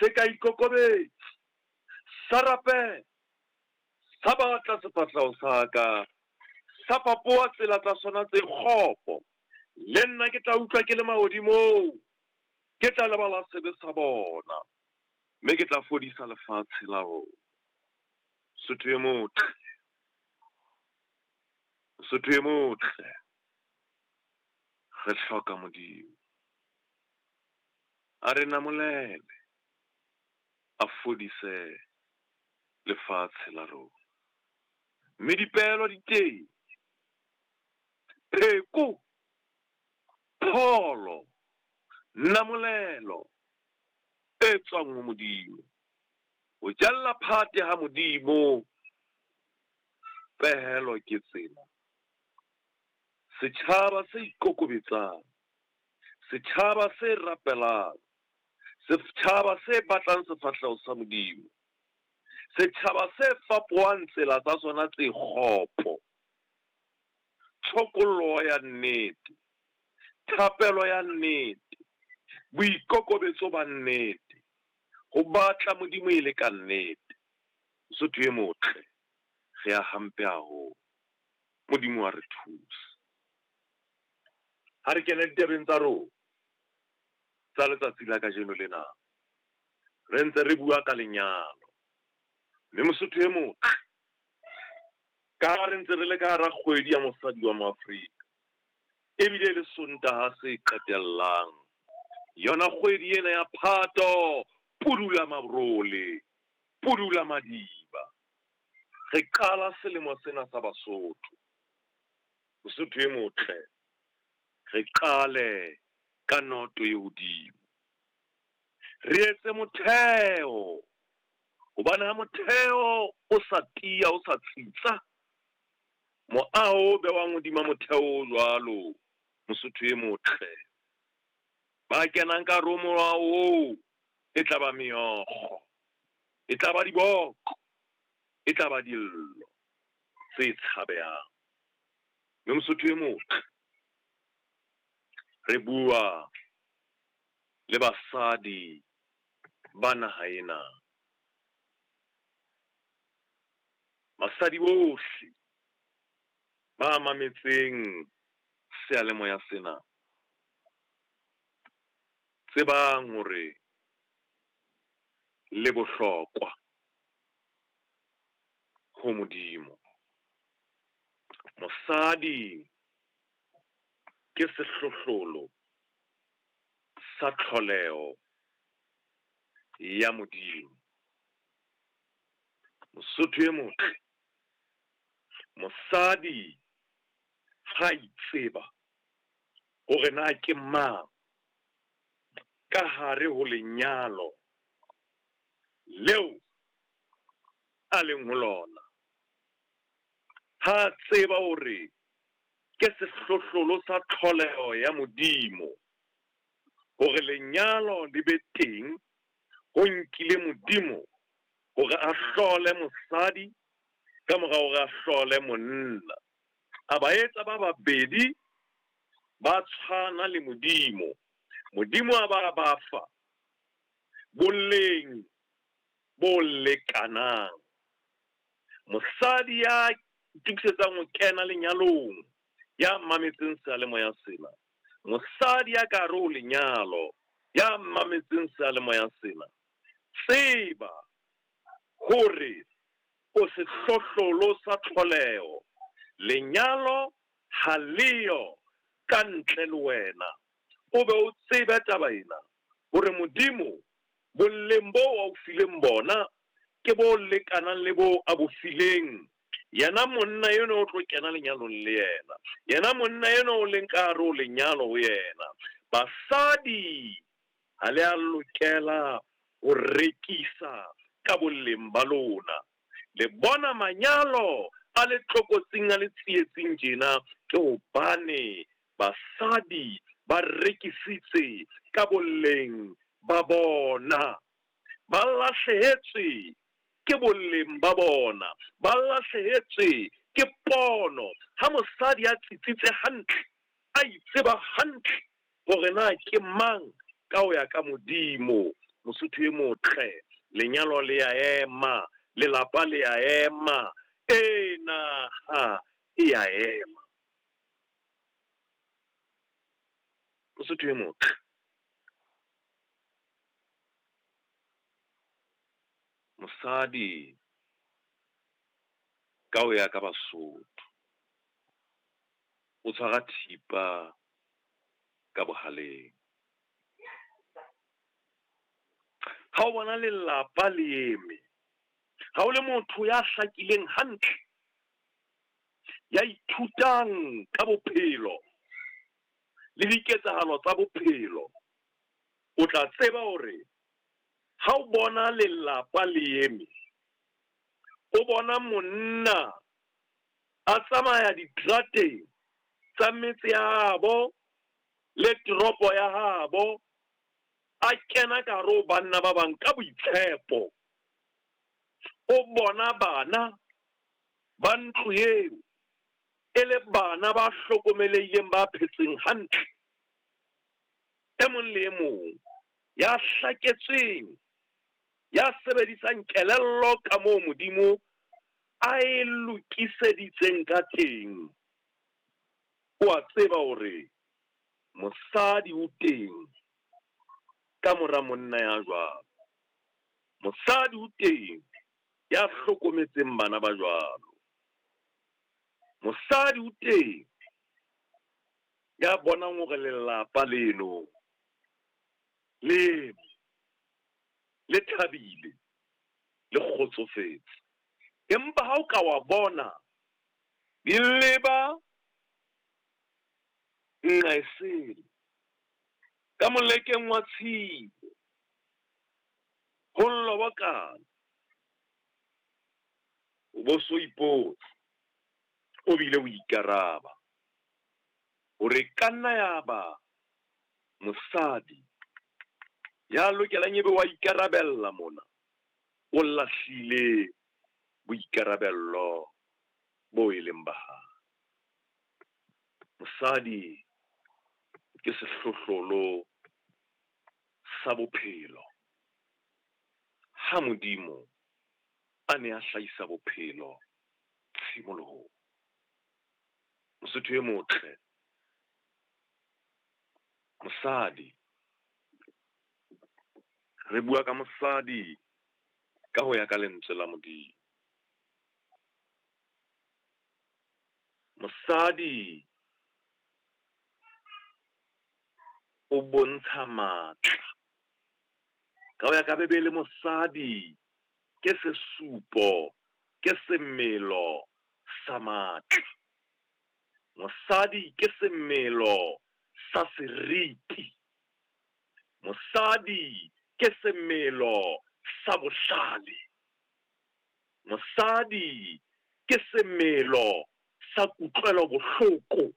Se ka ikokobetsa, sa rapela, sa batla sefahleho sa ka, sa fapoha tsela tsa sona tse kgopo, le nna ke tla utlwa ke le mahodimong, ke tla lebala sebe sa bona, mme ke tla fodisa lefatshe la rona. Mosotho e motle, Mosotho e motle, re hloka Modimo. A re namolele, a fodise lefatshe la rona. Mme dipehelo di teng, pheko, pholo, namolelo e tswang ho Modimo. Ho jella phate ha Modimo, pehelo ke tsena. Setjhaba se ikokobetsang, setjhaba se rapelang, setjhaba se batlang sefahleho sa Modimo, setjhaba se fapohang tsela tsa sona tse kgopo, tshokollo ya nnete, thapelo ya nnete, boikokobetso ba nnete, ho batla Modimo e le ka nnete. Mosotho e motle, re ya hampe haholo. Modimo wa re thusa. Ha re kene ditabeng tsa rona tsa letsatsi la kajeno lena, re ntse re bua ka lenyalo. Mme Mosotho e motle, ka ha re ntse re le ka hara kgwedi ya mosadi wa Moafrika, ebile le Sontaha se qetellang yona kgwedi ena ya Phato, pudula mabrole, pudula madiba. Re qala selemo sena sa Basotho. Mosotho e motle, re qale ka noto e hodimo. Re etse motheo, hobane ha motheo o sa tiya, o sa tsitsa, moaho o bewang hodima motheo o jwalo, Mosotho e motle, ba kenang ka hare ho moaho oo e tla ba meokgo, e tla ba diboko, e tla ba dillo tse tshabehang. Mme Mosotho e motle, re bua le basadi ba naha ena. Basadi bohle ba mametseng seyalemoya sena, tsebang hore le bohlokwa ho Modimo. Mosadi ke sehlohlolo sa tlholeho ya Modimo. Mosotho e motle, mosadi ha itseba hore na ke mang ka hare ho lenyalo leo a leng ho lona, ha tseba hore ke sehlohlolo sa tlholeho ya Modimo, hore lenyalo le be teng, ho nkile Modimo hore a hlole mosadi ka mora hore a hlole monna. A ba etsa ba babedi ba tshwana le Modimo. Modimo a ba ba fa boleng bo lekanang. Mosadi ya itukisetsang ho kena lenyalong, ya mametseng seyalemoya sena, mosadi ya ka hare ho lenyalo, ya mametseng seyalemoya sena, tseba hore o sehlohlolo sa tlholeho. Lenyalo ha leyo ka ntle le wena. O be o tsebe taba ena hore Modimo boleng bo a o fileng bona ke bo lekanang le bo a bo fileng yena monna eno o tlo kena lenyalong le yena, yena monna eno o leng ka hare ho lenyalo ho yena. Basadi ha le a lokela ho rekisa ka boleng ba lona. Le bona manyalo a le tlokotsing, a le tsietsing tjena ke hobane basadi ba rekisitse ka boleng ba bona. Ba lahlehetswe ke boleng ba bona, ba lahlehetswe ke pono. Ha mosadi a tsitsitse hantle, a itseba hantle hore na ke mang ka ho ya ka Modimo, Mosotho e motle, lenyalo le a ema, lelapa le a ema, ee, naha e a ema. Mosotho e motle. Mosadi ka ho ya ka Basotho o tshwara thipa ka bohaleng. Ha o bona lelapa le eme, ha o le motho ya hlakileng hantle, ya ithutang ka bophelo le diketsahalo tsa bophelo, o tla tseba hore ha o bona lelapa le eme, o bona monna a tsamaya diterateng tsa metse ya habo le toropo ya habo, a kena ka hare ho banna ba bang ka boitshepo, o bona bana ba ntlo eo e le bana ba hlokomelehileng, ba phetseng hantle, e mong le e mong ya hlaketsweng, ya sebedisang kelello ka moo Modimo a e lokiseditseng ka teng, o a tseba hore mosadi o teng ka mora monna ya jwalo. Mosadi o teng ya hlokometseng bana ba jwalo. Mosadi o teng ya bonang hore lelapa leno le le thabile, le kgotsofetse. Empa ha o ka wa bona di leba nqa e sele, ka molekeng wa tshilo, ho lobokana, o bo so ipotsa, o bile o ikaraba hore ka nna ya ba mosadi ya lokelang ebe wa ikarabella mona, o lahlile boikarabello bo e leng ba hae. Mosadi ke sehlohlolo sa bophelo. Ha Modimo a ne a hlahisa bophelo tshimolohong. Mosotho e motle, mosadi, re bua ka mosadi ka ho ya ka lentswe la Modimo. Mosadi o bontsha matla. Ka ho ya ka Bibele, mosadi ke sesupo, ke semelo sa matla. Mosadi ke semelo sa seriti. Mosadi ke semelo sa bohlale. Mosadi ke semelo sa kutlwelo bohloko.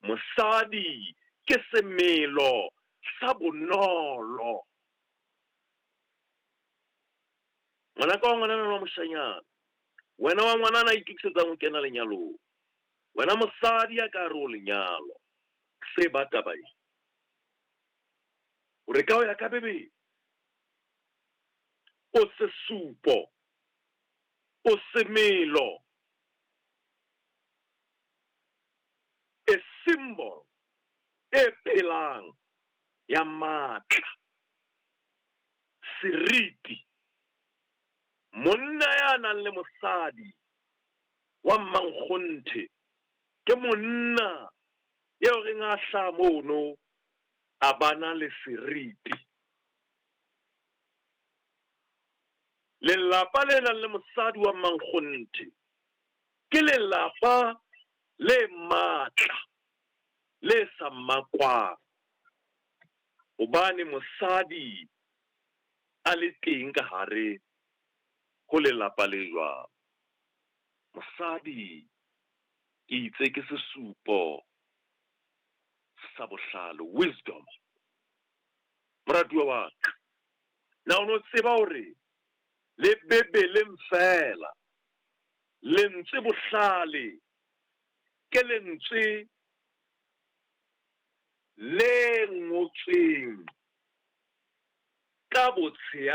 Mosadi ke semelo sa bonolo. Ngwanaka wa ngwanana wa moshanyana, wena wa ngwanana a itokisetsang ho kena lenyalong, wena mosadi ya ka hare ho lenyalo, tseba taba e hore ka ho ya ka Bibele o sesupo, o semelo, a symbol e phelang ya matla, seriti. Monna ya nang le mosadi wa mmankgonthe ke monna eo reng a hlaha mono a bana le seriti. Lelapa le nang le mosadi wa mmankgonthe ke lelapa le matla, le sa makwang, hobane mosadi a le teng ka hare ho lelapa le jwalo. Mosadi ke itse ke sesupo sa bohlale, wisdom. Moratuwa wa ka, na o no tseba hore le Bibeleng feela lentswe bohlale ke lentswe le ngotsweng ka botshehadi.